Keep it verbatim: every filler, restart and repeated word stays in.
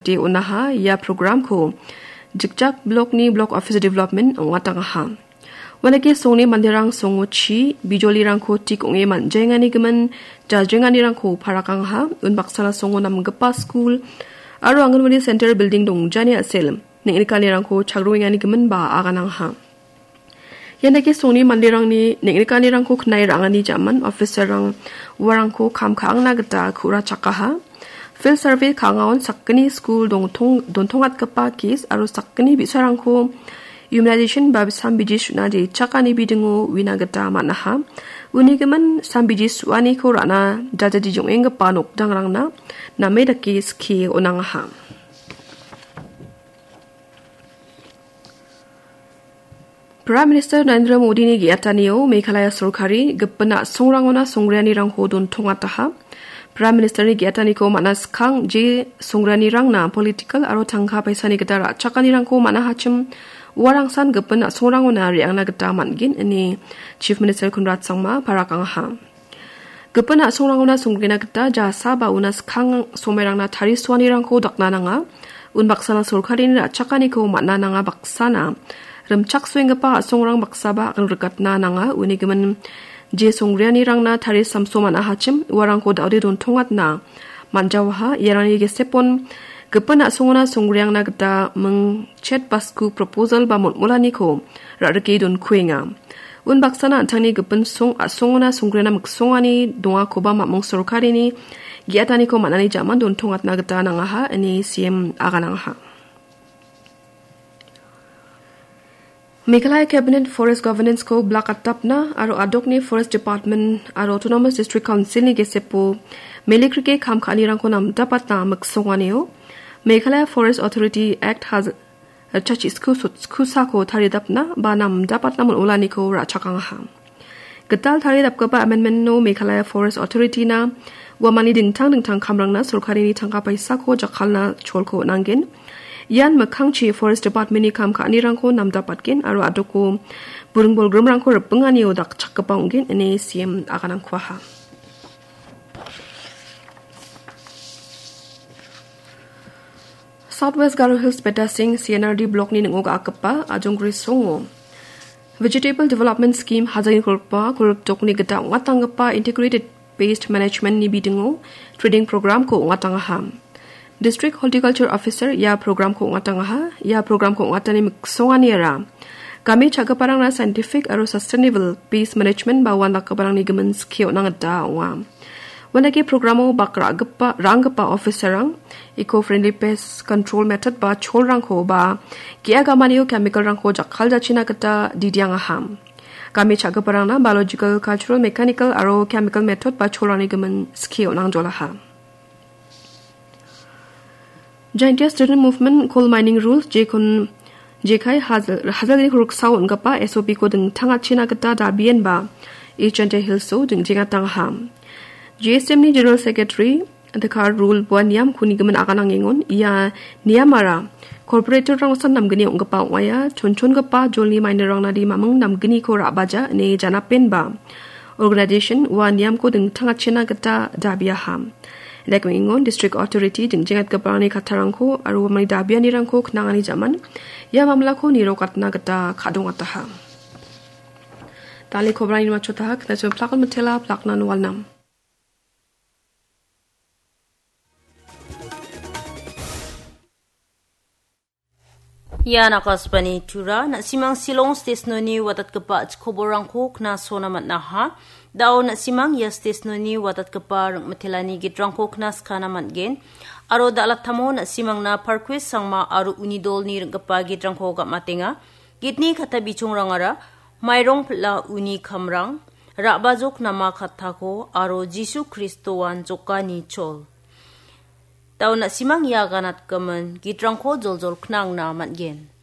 de onaha ia programko Jikjak blokni Block Office Development ong·atangaha. Uanake songni manderang songo chi, bijolirangko tik ong·e man·jaengani gimin jajrenganirangko parakangaha. Unbaksana songo namgipa skul aro Anganwadi Center Building dongjani a·sel neng·nikanirangko chagruengani giminba aganangaha. Ian dake songni manderangni neng·nikanirangko knae ra·angani jaman officer-rang uarangko kam ka·angna gita ku·rachakaha. Field survey ka·angaon sakgni skul dongtong-, dontongatgipa case aro sakgni bi·sarangko immunization ba sambiji su·na jechakani bidingo uina gita man·aha. Uni gimin sambiji su·aniko ra·na jajadi jong·enggipa nokdangrangna name dake skie on·angaha. Prime Minister Narendra Modini ge·atanio Meghalaya sorkari gipin a·songrangona songgrianirangko dontongataha. Prime Ministerni ge·ataniko man·a skang je songgrianirangna political aro tangka paisani gita ra·chakanirangko man·ahachim uarangsan gipin a·songrangona re·angna gita man·gen ine Chief Minister Conrad Sangma parakangaha. Gipin a·songrangona songgina gita jasa ba una skang somairangna tarisoanirangko dakna nanga. Unbaksana sorkarini ra·chakaniko man·a nanga baksana rimchaksoenggipa a·songrang baksaba agangrikatna nanga. Uni gimin je songgrianirangna tarisamso man·ahachim uarangko da·ode dontongatna man·jawaha. Iarangni gesepon gipin a·songona songgriangna gita mingchet basku proposal ba molmolaniko ra·rike donkuenga. Unbaksana an·tangni gipin song a·songona songgriana miksongani dongakoba mamung sorkarini ge·ataniko man·ani jaman dontongatna gita nangaha ine C M aganangaha. Meghalaya Cabinet Forest Governance-ko blak atapna aro adokni Forest Department aro Autonomous District Council-ni gesepo melikrike kam ka·anirangko namdapatna miksonganio Meghalaya Forest Authority Act haz-, chachisku sot-, skusako taridapna ba namdapatna mon·olaniko ra·chakangaha. Gital taridapgipa amendment-o Meghalaya Forest Authority-na uamangni dingtang dingtang kamrangna sorkarini tangka paisako jakkalna cholko on·angen. Ian mikkangchi Forest Department-ni kam ka·anirangko namdapatgen aro adoko buring bolgrimrangko ripinganio dakchakgipa ong·gen ine C M aganangkuaha. South West Garo Hills Betasing C N R D Block-ni ning·o ga·akgipa Ajongri Songo Vegetable Development Scheme hajani kolpa kolpdokni gita ong·atanggipa Integrated Pest Management-ni bidingo training program-ko ong·atangaha. District Horticulture Officer ia program-ko ong·atangaha. Ia program-ko ong·atani miksonganiara game cha·giparangna scientific aro sustainable pest management ba uandakgiparangni gimin skie on·na gita ong·a. Uandake programo bak ra·gipa, ra·anggipa officer-rang, eco-friendly pest control method ba cholrangko ba ge·a gamanio chemical-rangko jakkaljachina gita didiangaha. Game cha·giparangna biological, cultural, mechanical aro chemical method ba cholrangni gimin skie on·angjolaha. Jaintia Student Movement Coal Mining Rules jekon jekai hajal, hajalni roksao on·gipa S O P-ko dingtangachina gita dabienba East Jaintia Hills-o dingjengatangaha. J S M-ni General Secretary Dekar Rule ba niamko nigimin aganangengon ia niamara corporator-rangsan namgni ong·gipa ong·aia, chonchongipa jolni mining-rangna di maming namgniko ra·baja ine janapenba organization ua niamko dingtangachina gita dabiaha. Lekmengon District Authority dingjengatgiparangni kattarangko aro uamangni dabianirangko knangani jaman ia mamlako nirokatna gita ka·dongataha. Dale kobrani machotaha, knacho plakon mitela, plaknan walnam. Ian Akashvani Tura, na·simang Shillong station-oni watatgipa a·chik koborrangko knasona man·aha. Da·o na·simang ia station-oni watatgipa ring·mitelani gitrangko knaskana man·gen. Aro da·latamo na·simangna Parkwis Sangma aro uni dolni ring·gipa gitrangko gam·atenga. Gitni katta bichongrangara mairong pil·a uni kamrang, ra·bajok nama kattako aro Jisu Kristoan jokani chol. Da·o na·simang ia ganatgimin gitrangko joljol knangna man·gen.